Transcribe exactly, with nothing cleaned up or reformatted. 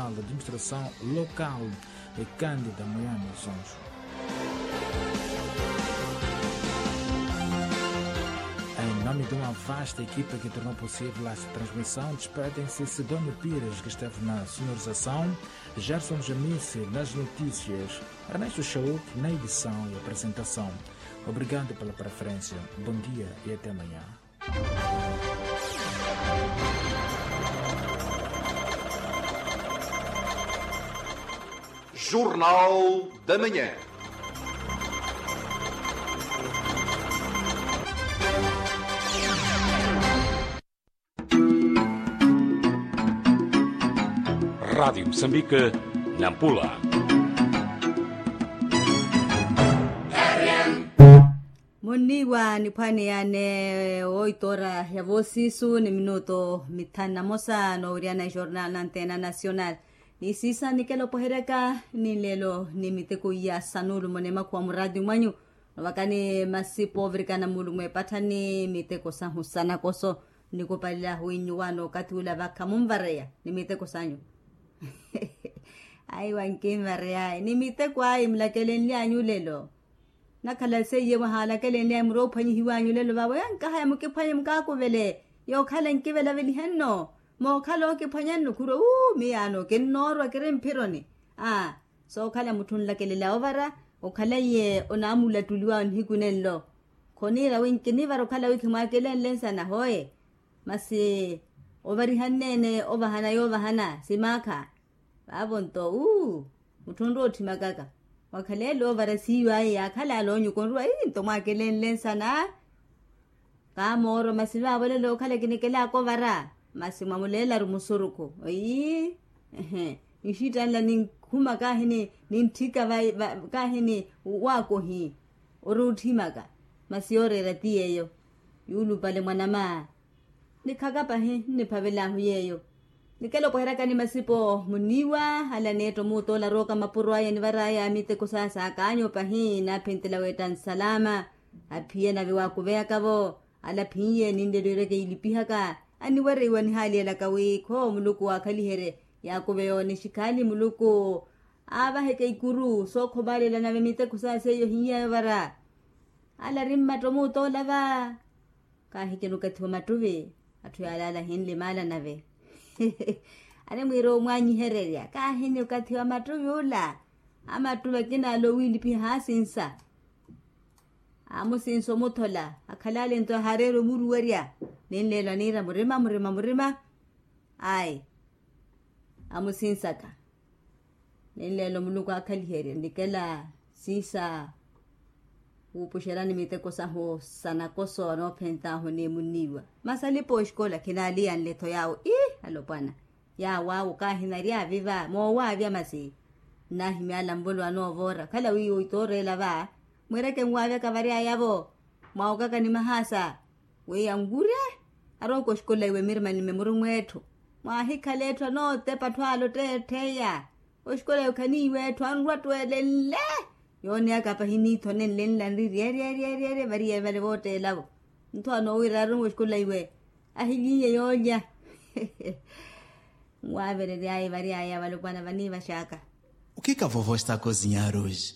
Administração Local, e Cândida Moyano Sancho. Em nome de uma vasta equipa que tornou possível esta transmissão, despedem-se Sidónio Pires, que esteve na sonorização, Gerson Jamice nas notícias, Ernesto Chauk na edição e apresentação. Obrigado pela preferência. Bom dia e até amanhã. Jornal da Manhã. Rádio Moçambique, Nampula. Munniiwa niphwaneya ni oito ora ya voosiisu ni minuto mithanu na mosa, noowiryana ejornal na antena nacional. Ni siisa nikela opoheryaka ni nlelo ni miteko iya sanuulu mone makhuwa muraati mwanyu. Novakani masipo ovirikana muulu mweepattha ni miteko sahu sanakoso. Nikupalela ahuwinyu waana okathi ula vakha munvareya ni miteko sanyu. Ayi wankinvareya ayi ni miteko ayi mulakelenlyanyu lelo. Nakhala seiye mwahaalakelenlyanyu muri ophwanyihiwanyu lelo vawe ankahaya mukiphwanye mukaakuvele. Yookhala nkivelavelihenno mookhala okiphwanyanno khurwa uu miyaano kinnoorwa kiri mphironi. Aa sookhala mutthu onlakelela ovara okhala iye onaamulattuliwa nihiku nenlo. Khoniira wi nkinivara okhala wi khimwaakelenle nsana hooye. Masi ovarihanneene ovahana yoovahana simaakha. Vaavo nto uu mutthu onrowa otthimakaka. Mwakhaleele ovara siiyo aye yaakhala aloonyuka onrowa ii nto mwaakelenle nsana. Kaamooro masi vaavo lelo okhala kinikelaaka ovara. Masi mwamuleelaru musurukhu ii. Nxittanla ninkhuma kaahini nintthika kaahini waakohi. Ori otthimaka masi yooreera ti yeeyo. Yuulupale mwanama. Nikhaka pahi nniphavel'ahu yeeyo. Nikela opoheryaka ni masipo muniiwa ala neetto muutoola arooka mapuro aya nivar'aya miteko saasa akaanyu pahi naaphenttela weetta nsalaama. Aphiye nave waakuveyaka-vo ala aphiye ninlelo ereke yiilipihaka. Aniwereiwa nihaaliyelaka wi khoo muluku waakhaliherye yaakuveya onixikhaali muluku. Aavaheke ikuru sookhomaalela nave miteko saasa eyo hiiy'aya ovara. Ala ari mmatto muutoola va. Kaahikina okathi wa mattuvi. Atthu yaalaala ahinlimaala nave. Animwiira omwaanyihererya kaahini okathi wa mattuvi ula. Amattuvi akina ala owiilipiha haasinsa. Amusinsa omuthola akhalale nto ahaareera omuruwerya. Ninleelo aniira murima murima murima. Ayi. Amusinsaka. Ninleelo muluku aakhaliherye nikela siisa. Wuupuxerani miteko sahu sanakoso anoophent'ahu ni munniiwa. Masi alipa oxikola khinaaliyanle-tho yaawo ii alopwana. Yaawo awo kaahinarya aviva moowaavya masi. Nnaahimyaala nvolo anoovoora okhala wi oito oreela va. Mwiireke nwaavyaka vary'aya-vo mwaawokaka ni mahaasa. Wi anwurye arooka oxikola iwe mirimani mimurumwa etthu. Mwaahikhala etthu anootepa atthu ale otteettheya. Oxikola iwe khaniiwa etthu anrwa atthu elenle. Yooneyaka pahi niitho nenle nla nri ryeeryeeryeerye variye vale vootteela-vo. Ntho anoowira arumwa oxikola iwe. Ahiliiye yoolya. Nwaaverery'aya vary'aya valopwana vaniivax'aka. O que que a vovó está a cozinhar hoje?